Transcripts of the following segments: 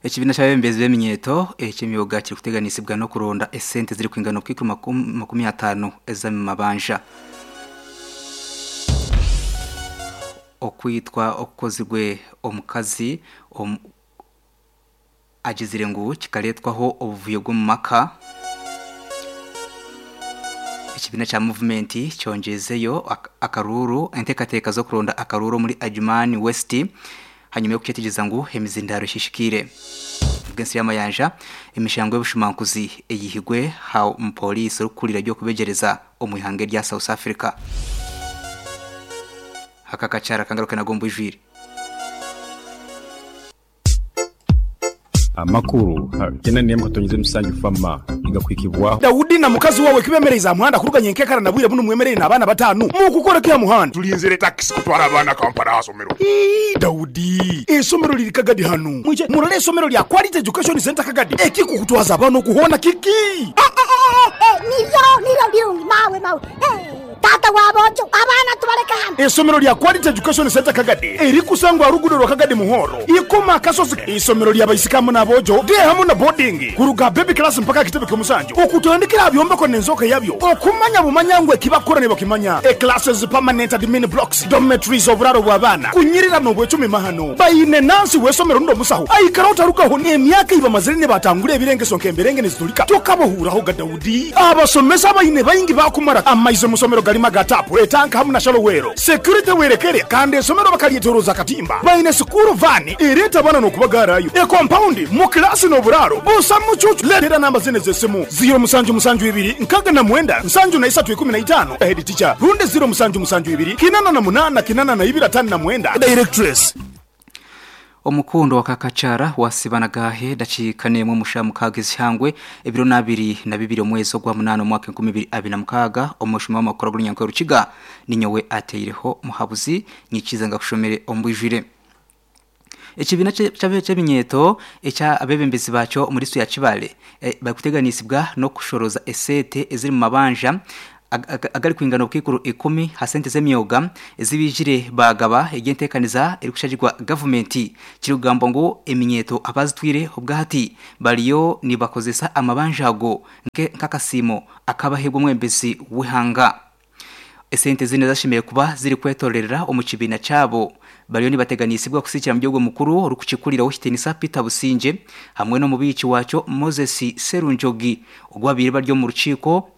Ekibiina ky'abebembezi b'eminyeeto eky'emyoga kirikuteganisibwa n'okuronda esente zirikwingana obukaikuru 50 ez'amabanja. Okwitwa okukozirwe omukazi agizire ngu kikareetwaho obuvuyo bw'omu maka. Ekibiina kya muvumenti kyongyezeyo akaruuru enteekateeka z'okuronda akaruuru omuri Adjumani West hanyima y'okukyetegyereza ngu emizindaaro eshishikaire. Bw'ensi y'amayanja, emishango y'obushumankuzi eyihirwe aha mupooriisi orikukurira eby'okubegyereza omu ihanga erya South Africa. Aka akakyara kangaruke nago omu bwijwire. Amakuru gena n'emwe katonyize musanju fama nigakuhikibwaho. Daudi na mukazi wawe kibemereize aha muhanda kuruga nyenkekara na bwire bunu mwemereire n'abaana batanu. Mukukora ki aha muhanda? Tulinzire takisi kutwara abaana Kampala aha somero. Ii, Daudi, eisomero liri Kagadi hanu. Mwije murole eisomero lya Quality Education Centre Kagadi. Ekikukutwaza abaana oku hoona kiki? Nibyo, nibyo birungi mawe, mawe. Taata wa boojo, abaana tubaleke hanu. Eisomero lya Quality Education Centre Kagadi erikusangwa aha ruguudo rwa Kagadi Muhoro, Ikoma Akasozi. Eisomero lya baisiki hamu n'aboojo, day hamu na boarding, kuruga aha baby class mpaka aha kitebe ky'omusanju, okutandikira aha byombeko n'enzooka yabyo, okumanya bumanya ngu ekibakukora nibakimanya. E Classes, permanent admin blocks, dormitories, oburaaro bw'abaana, kunyirira n'obwecumi mahano. Baine nansi w'eisomero rundi omusaho aikara otarugaho n'emyaka ei bamazire nibatangura ebirengeso nk'emberenge niziturika tokabahuuraho ga Daudi. Abasomesa abaine baingi baakumara amaizi omu somero garimu aga taapu, etanka hamu na shalowero. Security werekere kandi esomero bakaryetoroza akatimba. Baine sikuuru vaani ereeta abaana n'okubagaarayo. Ekompaundi mu kilaasi n'oburaaro busa mucuucu. Leetera namba zinu ez'esimu, ziiro musanju musanju ibiri nkaga na mwenda nsanju na isatu ikumi na itaano, Head teacher, rundi ziiro musanju musanju ibiri kinana na munaana kinana na ibiri atano na mwenda, Directress. Omukundo wa Kakakyara wasiba nagahe dakiika n'emwe omu shaaha mukaaga ez'eihangwe ebiro n'abiri na bibiri omwezi ogwa munaana omwaka 2026 omushuma w'amakuru ag'orunyankore Rukiga ninyowe ateireho Muhabuzi nyikiiza ngakushomere omu bwijwire. Ekibiina ky'eminyeeto ekya abeebembezi baakyo omuri disiturikiti ya Kibaale barikuteganisibwa n'okushorooza esente eziri mu mabanja agarikwingana obukaikuru ikumi aha sente z'emyoga ezi baijire baagaba ery'enteekaniza erikushagirwa gavumenti. Kirikugambwa ngu eminyeeto abazitwire obwahati bariyo nibakozesa amabanja ago nk'akasiimo akabaheebwa omwebembezi w'eihanga. Esente zinu ezashemereire kuba zirikwetororera omu kibiina kyabo bariyo nibateganisibwa kusiikira omuri ogwo mukuru orikukikurira ow'ekitiinisa Peter Busingye hamwe n'omubiiki waakyo Moses Serunjogi ogu babaire bari omu rukiiko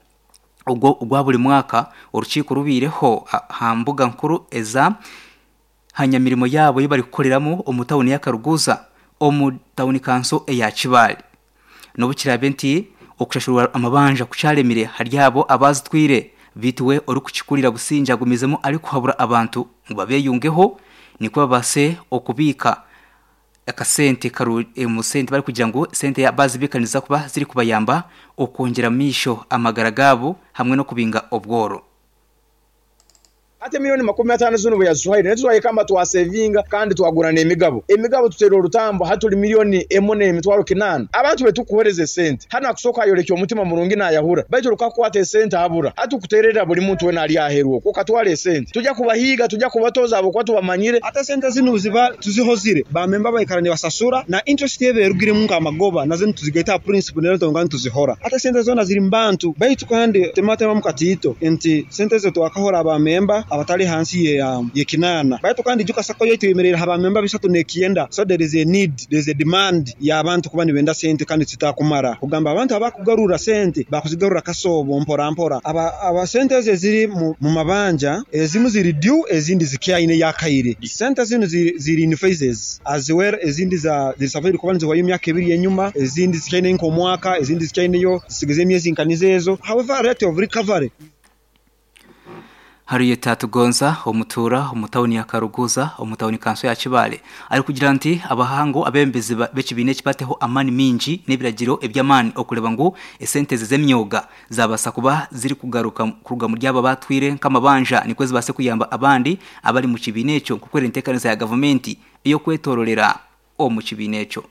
ogwo ogwa buri mwaka orukiiko rubaireho aha mbuga nkuru eza ha nyamirimo yaabo ei barikukoreramu omu tauni ya Karuguza omu tauni kanso eya Kibaale. N'obu kiraabe nti okushashurwa amabanja kukyaremire ahari abo abaazitwire, beitu we orikukikurira Busingye agumizemu arikuhabura abantu ngu babeyungeho nikwo babaase okubiika akasente omu sente barikugira ngu sente bazibiika niziza kuba zirikubayamba okwongyera omu maisho amagara gaabo hamwe n'okubinga obworo. Hati emilioni 50 zinu bweyazituhaire naitwe twayekamba twasevinga kandi twagura n'emigabo. Emigabo tuteire orutambo hati turi milioni emwe n'emitwaro kinaana. Abantu betukuhereza esente hanu akusooka ayorekya omutima murungi nayahura baitu rukakukwata esente abura. Hati tukutererra buri muntu wena ari aheru okwo okatwara esente. Tugya kubahiiga, tugya kubatoza ahabw'okuba tubamanyire. Hati esente zinu ziba tuzihozire, ba memba baikara nibasasura na interest eba erugiremu nk'amagoba nazo nituzigaita aha principal reero twonka nituzihora. Hati esente zoona ziri mu bantu baitu kandi tematemamu katiito nti sente ezo twakahora ba memba abatari ahansi ye kinaana baitu kandi ijuka sacco yaitu eyemereire aha ba memba bisatu n'ekyenda so there is a need, there is a demand y'abantu kuba nibenda sente kandi titakumara kugamba abantu abakugarura sente bakuzigarura kasoobo mpora mpora. Aba sente ezo eziri mu mabanja ezimu ziri due ezindi zikyaineyo akaire. Sente zinu ziri in phases as well ezindi ziri supposed kuba nizihwayo emyaka ebiri enyuma, ezindi zikyaineyo nk'omwaka, ezindi zikyaineyo zisigize emyezi nka nizo ezo. However rate of recovery. Harriet Atugonza omutuura omu tauni ya Karuguza omu tauni kanso ya Kibaale arikugira nti abahangu abebembezi b'ekibiina eki bateho amaani mingi n'ebiragiro eby'amaani okureeba ngu esente ezi ez'emyoga zabaasa kuba zirikugaruka kuruga omuri abo abatwire nk'amabanja nikwo zibaase kuyamba abandi abari mu kibiina ekyo nk'oku eri enteekanisa ya gavumenti ey'okwetororera omu kibiina ekyo.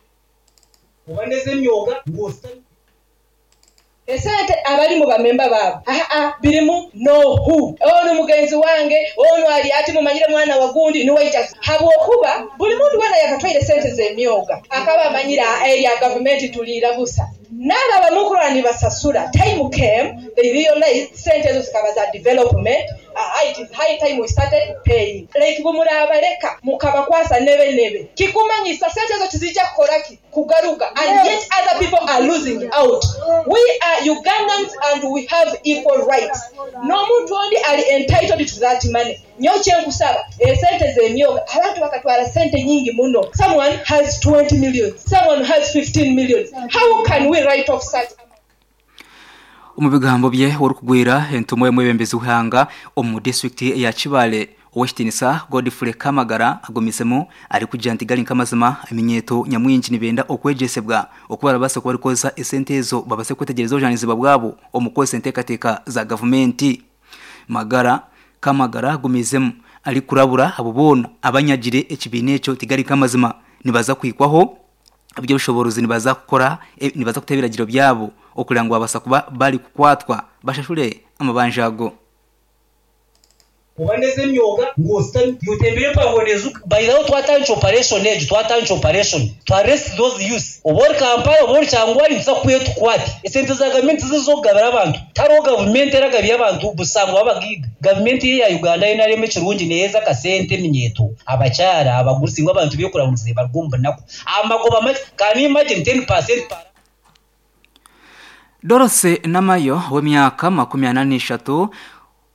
Esente abalimu bamemba baabo aa birimu no who onu mugenzi wange onu ali ati mumanyire mwana wa gundi niwe aija habwokuba buli muntu weena yakatwaire sente z'emyoga akaba amanyire aa erya gavumenti tuliira busa. N'abo abamukurora nibasasura time came they realized sente ezo zikaba za development aa it is high time we started paying like bumurabaleka mukabakwasa nebe nebe kikumanyisa sente ezo tizija kukoraki kugaruka and yet other people are losing out we are Ugandans and we have equal rights n'omuntu ondi ali entitled to that money nyowe kyenkusaba esente z'emyoga abantu bakatwara sente nyingi muno someone has 20 million someone has 15 million how can we write off such Omu bigambo bye, orikugwera entumwa y'omwebembezi w'eihanga omu disiturikiti eya Kibaale, Ow'ekitiinisa Godfrey Kamagara agumizemu arikugira nti gari nk'amazima eminyeeto nyamwingi nibenda okwegyesebwa oku barabaase kuba barikukozesa esente ezo babaase kwetegyereza obujunaanizibwa bwabo omu kukozesa enteekateeka za gavumenti. Magara Kamagara agumizemu arikurabura abo boona abanyagire ekibiina ekyo tigari nk'amazima nibaza kuhikwaho eby'obushoboorozi nibaza kukora nibaza kuta ebiragiro byabo okureba ngu babaasa kuba barikukwatwa bashashure amabanja ago. Oba n'ez'emyoga ngu ositami yotembire empango nezuka. By the way twatandikya operation egi twatandikya operation to arrest those youths oba ori Kampala oba ori Kyangwali nituza kukwiha tukukwate. Esente za gavumenti tizo ez'okugabira abantu. Tihariho gavumenti eragabira abantu busha ngu babagaiga. Gavumenti ye ya Uganda NRM ekirungi neheeza akasente eminyeeto, abakyara, abagurusi ngu abantu bekurahurize baruge omu bunaku. Amagoba makye, can you imagine 10% per Dorothy Namayo ow'emyaka 43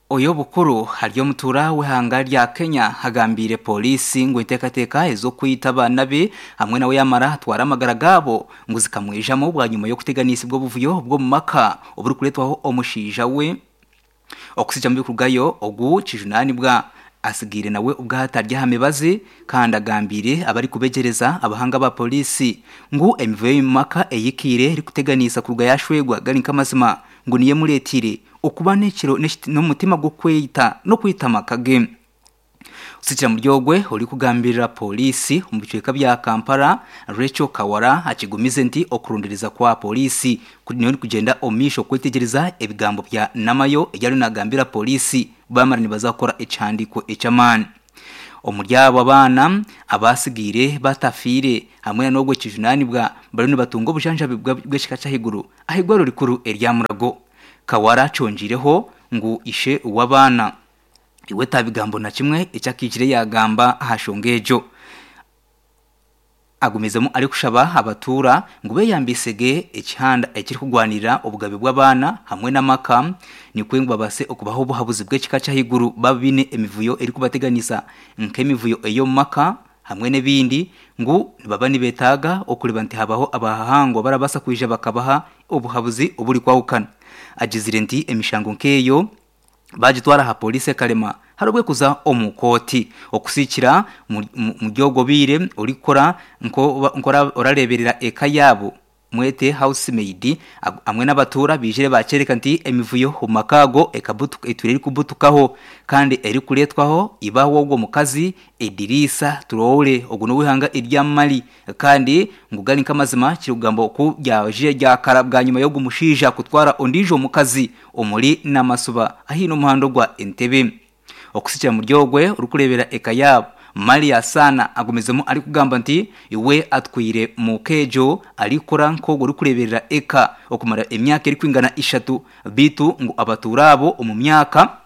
oy'obukuru ari omutuura w'eihanga rya Kenya agambiire pooriisi ngu enteekateeka ez'okwita abaana be hamwe nawe yaamara atwara amagara gaabo ngu zikamwijamu bwanyima y'okuteganisibwa obuvuyo bw'omu maka oburikureetwaho omushaija we. Okutsigamu ebirikurugayo ogu kijunaanibwa atsigaire nawe obwahati ari aha mibazi kandi agambiire abarikubegyereza abahanga aba pooriisi ngu emivuyo y'omu maka eyikiire erikuteganiisa kuruga yashwegwa gari nk'amazima ngu niyo emureeteire okuba n'ekiro n'omutima gw'okweita n'okwita amaka ge. Osikira muri ogwe orikugambirira pooriisi omu bicweka bya Kampala, Rachel Kawala akigumize nti okuronderiza kwa pooriisi kuriyo nikugyenda omu maisho kwetegyereza ebigambo bya Namayo ebi ariyo nagambira pooriisi bamara nibaza kukora ekihandiiko eky'amaani. Omuri abo abaana abatsigaire batafiire hamwe na n'ogwo ekijunaanibwa bariyo nibatunga obujanjabi bw'ekika ky'ahaiguru ah'eirwariro rikuru erya Mulago. Kawala akyongiireho ngu ishe w'abaana iwe tabigambo na kimwe eki akaijire yaagamba aha nshonga egyo. Agumizemu arikushaba abatuura ngu beyambise ge ekihanda ekirikugwanirira obugabe bw'abaana hamwe n'amaka nikwo ngu babaase okubaha obuhabuzi bw'ekika ky'ahaiguru baaba baine emivuyo erikubateganisa nk'emivuyo ey'omu maka hamwe n'ebindi ngu nibaba nibetaaga okureeba nti habaho abahangwa abarabaasa kwija bakabaha obuhabuzi oburikwahukana. Agizire nti emishango nk'eyo Baagitwara aha pooriisi ekarema hari obwe kuza omu kooti. Okusiikira muri obwo bwire orikukora nk'orareeberera eka yaabo mwete house maid hamwe n'abatuura baijire baakyoreka nti emivuyo omu maka ago etwire erikubutukaho kandi erikureetwaho iba w'ogwo mukazi Ediriisa Traore ogu n'ow'eihanga erya Mali kandi ngu gari nk'amazima kirikugambwa oku ryajire ryakara bwanyima y'ogu mushaija kutwara ondiijo mukazi omuri Namasuba ahi n'omuhanda ogwa Entebbe. Okusikira muri ogwe orikureebera eka yaabo, Maria Saana agumizemu arikugamba nti iwe atwire muka egyo arikukora nk'ogwo orikureeberera eka okumara emyaka erikwingana ishatu beitu ngu abatuura abo omu myaka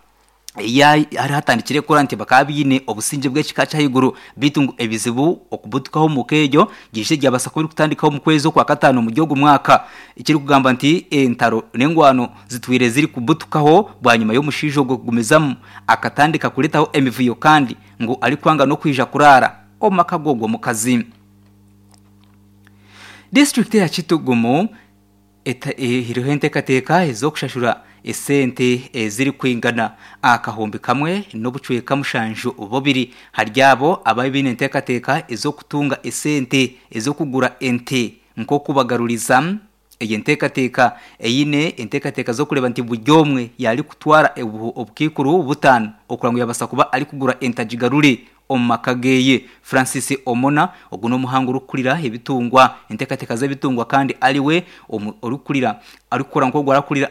ei hari hatandikire kukora nti bakaba baine obusingye bw'ekika ky'ahaiguru beitu ngu ebizibu okubutukaho omu ka egyo byaije byabaasa kuba birikutandikaho omu kwezi okwakataano omuri ogu mwaka. Ekirikugamba nti entaro n'engwano zitwire zirikubutukaho bwanyima y'omushaija ogwo kugumizamu akatandika kureetaho emivuyo kandi ngu arikwanga n'okwija kuraara omu maka g'ogwo mukazi. Disiturikiti eya Kitugumu Ehaireho enteekateeka ez'okushashura esente ezirikwingana akahumbi kamwe n'obucweka mushanju bubiri ahari abo ababaire baine enteekateeka ez'okutunga esente ez'okugura ente nk'okubagaruriza egi enteekateeka eine enteekateeka z'okureeba nti buri omwe yaarikutwara obukaikuru butaano okureba ngu yaabaasa kuba arikugura ente agigarure. omu maka geye. Francis Omona ogu n'omuhangu orikukurira ebitungwa enteekateeka z'ebitungwa kandi ariwe orikukurira arikukora nk'ogu arakurira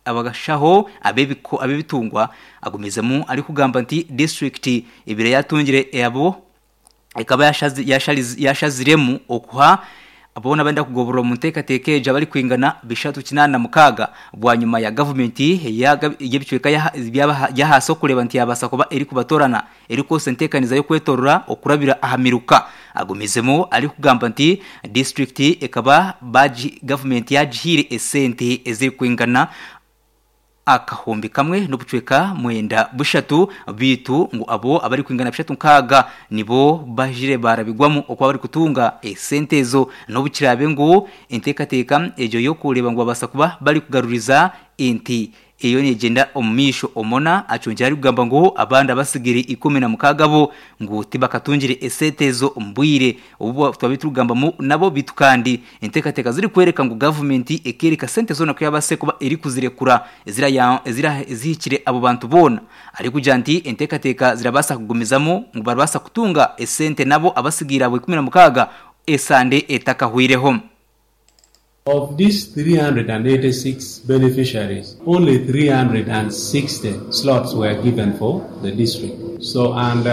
abashaho ab'ebitungwa agumizemu arikugamba nti disiturikiti ebaire yatungire abo ekaba yashaziremu okuha boona abarikwenda kugoborora omu nteekateeka egyo abarikwingana 386 bwanyima ya gavumenti y'ebicweka by'ahansi okureeba nti yabaasa kuba erikubatorana erikukozesa enteekaniza y'okwetorora okurabira aha miruka. Agumizemu arikugamba nti disiturikiti ekaba gavumenti yagihaire esente ezirikwingana 1000 n'obucweka 93 beitu ngu abo abarikwingana 360 nibo baijire barabigwamu okuba barikutunga esente ezo n'obu kiraabe ngu enteekateeka egyo y'okureeba ngu babaasa kuba barikugaruriza ente eyo negyenda omu maisho. Omona akyongyera arikugamba ngu abandi abatsigaire 16 bo ngu tibakatungire esente ezo omu bwire obu twabaire turikugambamu nabo beitu kandi enteekateeka zirikworeka ngu gavumenti ekeereka sente zoona ku yaabaasire kuba erikuzirekura ezirahikire abo bantu boona arikugira nti enteekateeka zirabaasa kugumizamu ngu barabaasa kutunga esente nabo abatsigaire abo 16 esande etakahweireho. Of these 386 beneficiaries, only 360 slots were given for the district. So, and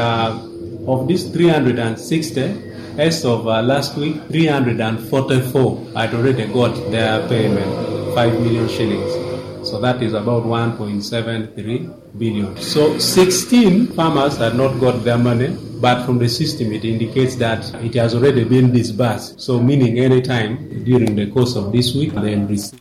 of these 360, as of last week, 344 had already got their payment, 5 million shillings. So that is about 1.73 billion. So 16 farmers had not got their money, but from the system it indicates that it has already been disbursed. So meaning any time during the course of this week they'll receive.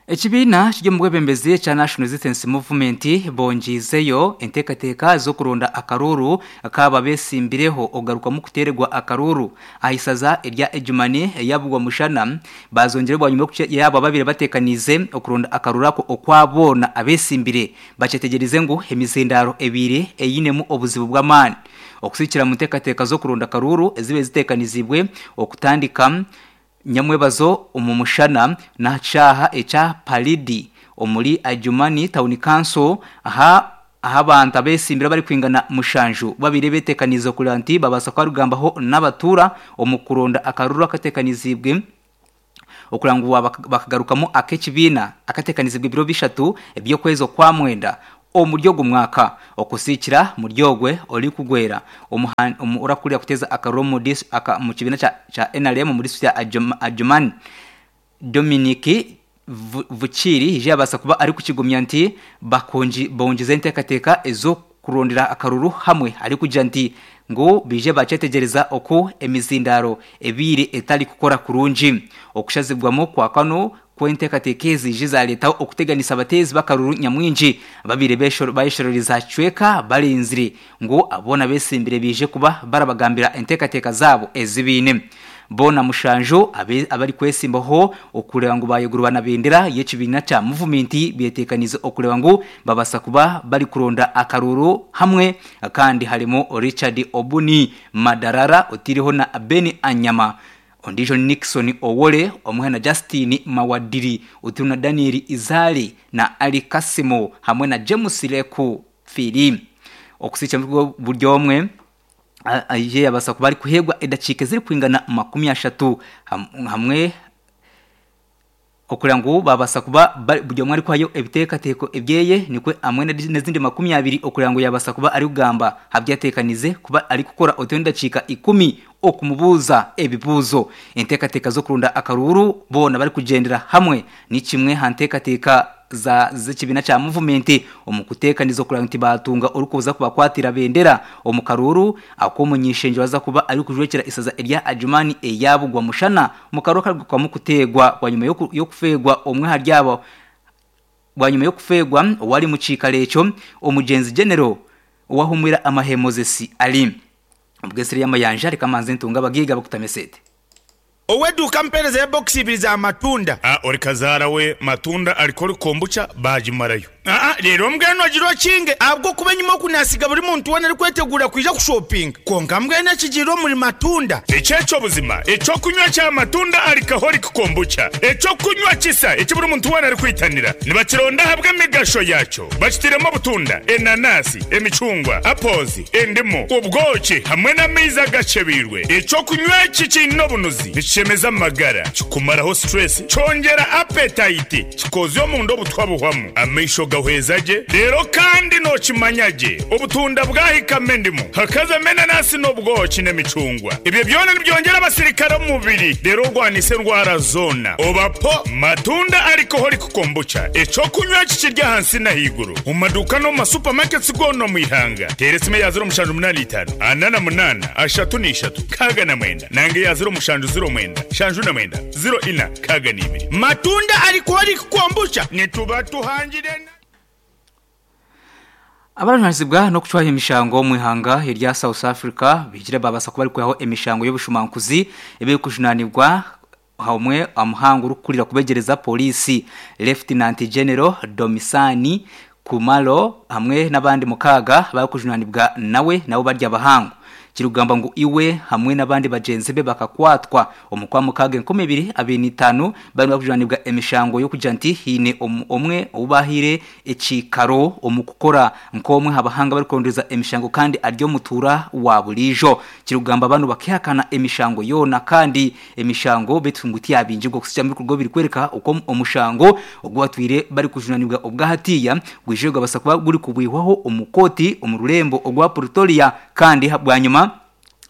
Ekibiina kiri omu bwebembezi ekya National Resistance Movement bongyizeyo enteekateeka z'okuronda akaruuru kaaba besimbireho okugarukamu kuteererwa akaruuru aha isaza erya Ejumani eyabugwa mushana bazongyire bwanyima yaabo ababaire bateekaniize okuronda akaruuru ako okwa boona abesimbire bakyetegyerize ngu emizindaaro ebaire einemu obuzibu bw'amaani okusikira mu nteekateeka z'okuronda akaruuru ezibaire ziteekaniziibwe okutandika Nyamwebazo omu mushana n'aha kishaaha ekya Palidi omuri Adjumani Town Council aha ahu abantu abetsimbire abarikwingana mushanju babaire beteekaniize kureba nti babaasa kuba n'abatuura omu kuronda akaruuru akateekaniziibwe okureba ngu bakagarukamu ak'ekibiina akateekaniziibwe ebiro bishatu eby'okwezi okwamwenda omuri ogu mwaka okusikira muri ogwe orikugwera orakurira kuteeza akaruuru omu kibiina kya NRM omu disiturikiti ya Adjumani, Dominic Vukiiri haija yabaasa kuba arikukigumya nti bongyize enteekateeka ez'okurondera akaruuru hamwe arikugira nti ngu baije bakyetegyereza oku emizindaaro ebaire etarikukora kurungi. Okushazibwamu kwa kanu kw'enteekateeka ezi zije zareetaho okuteganisa abateezi b'akaruuru nyamwingi ababaire bayeshororeza aha kicweka barinzire ngu boona abetsimbire baije kuba barabagambira enteekateeka zaabo ezi baine. Boona mushanju abarikwetsimbaho okureeba ngu bayegurwa na bendera y'ekibiina kya muvumenti beteekaniize okureeba ngu babaasa kuba barikuronda akaruuru hamwe kandi harimu Richard Obuni Madarara oteireho na Ben Anyama Ondiijo ni Nixon Owole omwe na Justine Mawadiri oteireho na Daniel Izale na Ali Kasimo hamwe na James Leku Phiri. Okusikira buri omwe aije yabaasa kuba arikuheebwa edakiika ezirikwingana 30 hamwe Okureba ngu babaasa kuba buri omwe arikuhayo ebiteekateeko ebyeye nikwo hamwe n'ezindi 20 okureba ngu yaabaasa kuba arikugamba aha bi ateekanize kuba arikukora oteho n'edakiika ikumi okumubuuza ebibuuzo. Enteekateeka z'okuronda akaruuru boona barikugyendera hamwe ni kimwe aha nteekateeka za z'ekibiina kya muvumenti omu kuteekaniza okureba ngu tibaatunga orikuza kubakwatira bendera omu karuuru ak'omuny'ishengyero aza kuba arikujwekyera eisaza erya Adjumani eya Bugwamushana omu karuuru akarikugarukamu kuteegwa bwanyima y'okufeegwa omwe ahari abo bwanyima y'okufeegwa owari omu kiikaro ekyo Omugyenzi Genero owahumwire amahe Moses Ali. Obwesire y'amayanja reka manze ntunge abagaiga bakutame esente. Ow'eduuka ampeereza ya bokisi ibiri za matunda. A Ori kazaara we matunda alcoholic kombucha baagimarayo. Aa Reero mbwenu ogire okinge ahabw'okuba enyima oku naasiga buri muntu weena arikweteguura kwija kushopinga. Kwonka mbwenu ekigiire omuri matunda. Eki eky'obuzima eky'okunywa kya matunda alcoholic kombucha, eky'okunywa kisa eki buri muntu weena arikwitanira. Nibakironda ahabw'emigasho yaakyo. Bakitairemu obutunda, enanasi, emicungwa, apples, endimu, obwoki hamwe n'amaizi agakyebeirwe. Eky'okunywa eki kiine obunuzi, nikishemeza amagara, kikumaraho stress, kyongyera appetite, kikoozya omunda obutwa buhwamu, amaisho gahweza gye, reero kandi nookimanya gye obutunda bwahikamu endimu, hakazamu enanasi n'obwoki n'emicungwa. Ebyo byona nibyongyera abasirikare omu mubiri reero orwanise endwara zoona. Oba po matunda alcoholic kombucha, eky'okunywa eki kiri ahansi n'ahaiguru omu maduuka n'omu ma supermarkets goona omu ihanga. Teera esimu eya 0785 48 33 69 nanga eya 0709 79 04 62. Matunda alcoholic kombucha nituba tuhangire na. Abarajunanizibwa n'okucwaho emishango omu ihanga erya South Africa bihikire babaasa kuba barikwihaho emishango y'obushumankuzi ebirikujunanibwa Omwe omuhangu orikukurira kubegyereza Pooriisi, Lieutenant General Domisani Khumalo hamwe n'abandi mukaaga abarikujunanibwa nawe nabo bari abahangu. Kirikugambwa ngu iwe hamwe n'abandi bagyenzi be bakakwatwa omu Kwamukaaga 2025 bariyo nibarikujunanibwa emishango y'okugira nti haine omwe ou baahaire ekiikaro omu kukora nk'omwe aha bahanga abarikurondooza emishango kandi ari omutuura wa buriijo. Kirikugamba banu bakehakana emishango yoona kandi emishango beitu ngu tiyabingirwe okuhitsya omu bikorwa ebirikworeka oku omushango ogu batwire barikujunanibwa obwahatiiya gwije gwabasa kuba gurikubwihwaho omu kooti omu rurembo orwa Pretoria kandi bwanyima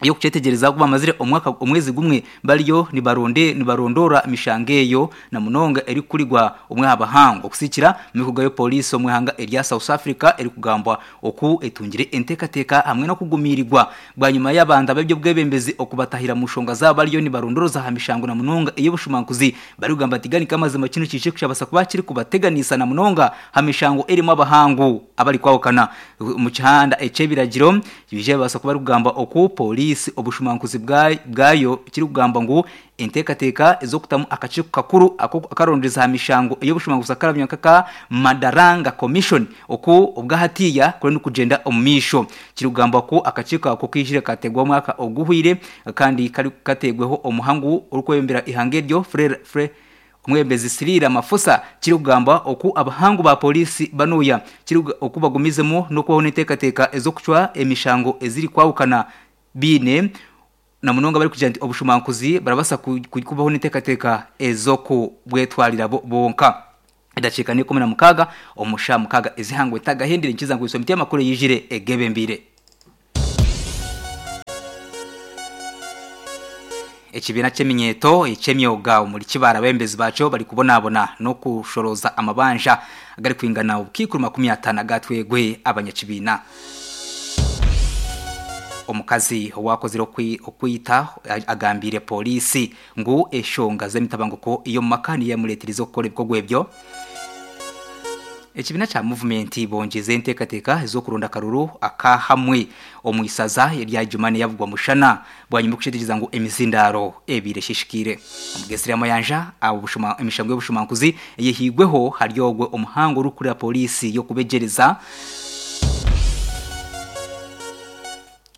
y'okukyetegyereza ku bamazire omwaka omwezi gumwe bariyo nibaronde nibarondoora emishango eyo na munonga erikukurigwa omwe aha bahangu okusikira omu mikuga y'opoliisi omu ihanga erya South Africa erikugambwa oku etungire enteekateeka hamwe n'okugumiirigwa bwanyima y'abantu ab'eby'obwebembezi okubatahira mu nshonga zaabo bariyo nibarondoroza aha mishango na munonga ey'obushumankuzi barikugamba bati gani k'amazima kinu kiije kushabasa kuba kirikubateganisa na munonga aha mishango erimu abahangu abarikwahukana omu kihanda eky'ebiragiro Biija bibaasa kuba arikugamba oku pooriisi obushumankuzi bwayo kirikugamba ngu enteekateeka ez'okutamu akakiiko kakuru akarondereza aha mishango ey'obushumankuzi akaramanywa nk'aka Madaranga Commission oku obwahatiiya kuriyo nikugyenda omu maisho. Kirikugambwa ku akakiiko ako kaijire kateebwaho omwaka oguhweire kandi kateebweho omuhangu orikwebembera eihanga eryo Fre Omwebembezi Cyril Ramaphosa kirikugambwa oku abahangu ba pooriisi banuya kiri oku bagumizemu n'okubaho n'enteekateeka ez'okucwa emishango ezirikwahukana baine na munonga barikugira nti obushumankuzi barabaasa kubaho n'enteekateeka ez'okubwetwarira bo bonka. Edakiika n'eikumi na mukaaga omu shaaha mukaaga ez'eihangwe ntagahendire nikiza ngu emiti y'amakuru eyijire egebembeire. Ekibiina ky'eminyeeto eky'emyoga omuri Kibaale abeebembezi baakyo barikubonabona n'okushorooza amabanja agarikwingana obukaikuru 50 agaatwegwe abanyakibiina. Omukazi owaakozire okwita agambiire pooriisi ngu enshonga z'emitabanguko y'omu maka niyo yamureeterize okukora ebikorwa ebyo. Ekibiina kya Muvumenti bongyize enteekateeka ez'okuronda akaruru aka hamwe omu isaza erya Jumani yabugwa mushana bwanyima y'okukyetegyereza ngu emizindaaro ebaire eshishikaire. Omugesire Mayanja emishango y'obushumankuzi eyehigweho hari ogwo omuhangu orikukurira pooriisi y'okubegyereza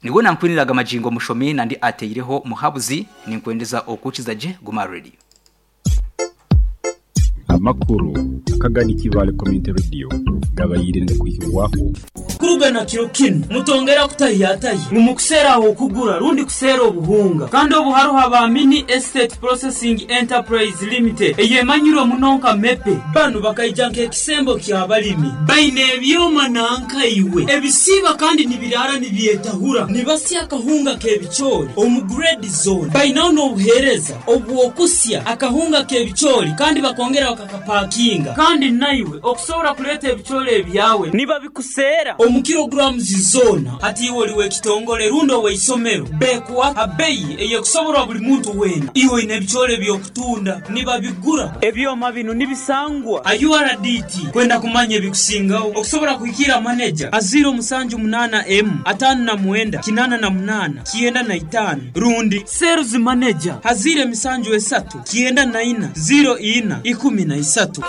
Niwe nankwiniraga magingo mushomi nandi ateireho muhabuzi ninkwendeza okukiza gye guma ready. Amakuru akagani Kibaale Community Radio gabaire nigakwihibwaho. Kuruga na kiro kinu, mutongera kutahiyatahya ngu mukuseera ah'okugura rundi kuseera obuhunga. Kandi obu haroho aba Mini Estate Processing Enterprise Limited eyemanyirwe muno nka MEPE. Banu bakaija nk'ekisembo ky'abalimi. Baine ebyoma nanka iwe ebisiiba kandi nibiraara nibyetahura, nibasya akahunga k'ebicoori omu grade zoona. Bainaho n'obuheereza obw'okusya akahunga k'ebicoori kandi bakongera bakakapakinga. Kandi naiwe okusobora kuleeta ebicoori ebyawe nibabikuseera. Omu kilograms zoona. Hati iwe oli w'ekitongole rundi ow'eisomero, beekuha ha beyi ey'ekusoborwa buli muntu weena. Iwe oine ebicoori eby'okutunda, nibabigura. Ebyoma binu nibisangwa ha URDT. Kwenda kumanya ebikusingaho, okusobora kuhikiira maneja ha ziiro musanju munaana emu, ataano na mwenda, kinaana na munaana, 95 rundi Sales Manager ha ziiro emisanju esatu, 94, ziiro ina, 13.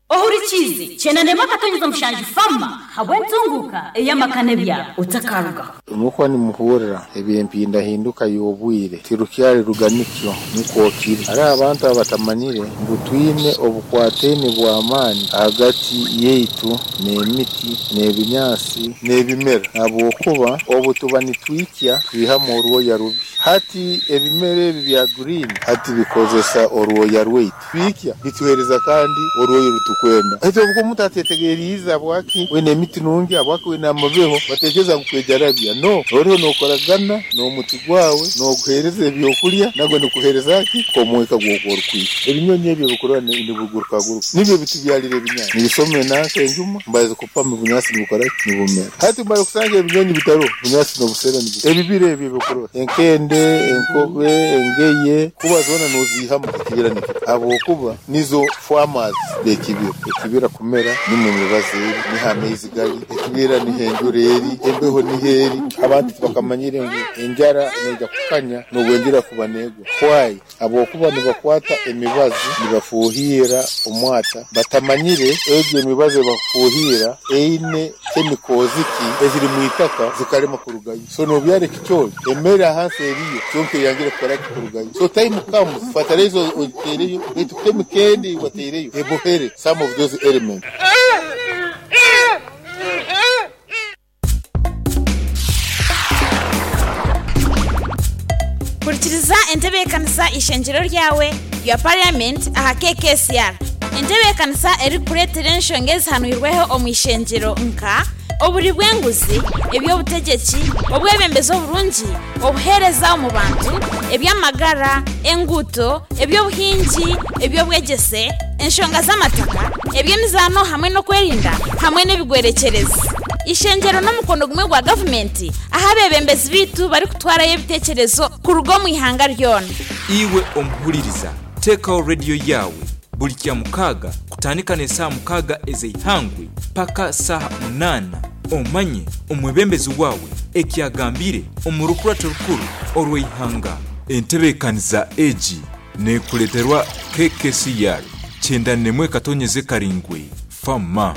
Ohurikiize, Kyenda n'emwe akatonyeza mushanju Fama habw'entunguuka ey'amaka n'ebyaro. Otakarugaho. Mukwa nimuhurira eby'empindahinduka y'obwire tirukyari ruganikyo nikwo kiri. Hariho abantu abatamanyire ngu twine obukwataine bw'amaani ahagati yaitu n'emiti n'ebinyaatsi n'ebimera ahabw'okuba obu tuba nitwikya twihamu orwoya rubi. Hati ebimera ebi bya green hati bikozesa orwoya rwaitu. Twikya bituheereza kandi orwoya oru tukwenda. Hati obu omuntu ateetegeriize habwaki wine emiti nungi, habwaki wine amabeho, bateekereza ngu kwejarabya. No, oriho nookoragana n'omuti gwawe, nooguheereza ebyokurya, nagwo nigukuheereza ki? Omwika gw'oku orikwikya. Ebinyonyi ebi ebikurora nibigurukaguruka nibyo bitubyarira ebinyaatsi. Nibisoma enanka enjuma, mbaza kupama obunyaatsi nibukora ki? Nibumera. Hati mara kusanga ebinyonyi bitaroho, obunyaatsi n'obusera nibufa. Ebibira ebi ebikurora, enkende, enkobe, engeye, kuba zoona nooziihamu ekibira nikita ahabw'okuba nizo farmers b'ekibira. Ekibira kumera nimwo emibazi eri, niho amaizi gari, ekibira niho enjura eri, embeho niho eri. Abantu tibakamanyire ngu enjara neija kukanya n'obu enjura kuba neegwa. Why? Ahabw'okuba nibakwata emibazi nibafuuhiira omwata batamanyire egyo emibazi ei bakufuuhiira eine chemicals ki eziri mu itaka zikarema kurugayo. So nobyara ekicoori emere ahansi eriyo kyonka eyangire kukora ki kurugayo. So time comes fertilizer ogiteereyo beitu chemical endi ei wateireyo ebohere some of those elements. Hurikiriza entebeekanisa Eishengyero Ryawe rya Parliament aha KKCR. Entebeekanisa erikukureetera enshonga ezihanwirweho omu ishengyero nka, oburi bw'enguzi, eby'obutegyeki, obwebembezi oburungi, obuheereza omu bantu, eby'amagara, enguuto, eby'obuhingi, eby'obwegyese, enshonga z'amataka, eby'emizaano hamwe n'okwerinda hamwe n'ebigwerekyerezi. Eishengyero n'omukono gumwe gwa gavumenti ahu abeebembezi baitu barikutwarayo ebiteekyerezo kuruga omu ihanga ryona. Iwe omuhuririza, teekaho rediyo yaawe buri Kyamukaaga kutandika n'esaaha mukaaga ez'eihangwe paka saaha munaana omanye omwebembezi waawe eki agambire omu rukurato rukuru orw'eihanga. Entebeekaniza egi neekureeterwa KKCR 91.7 Fama.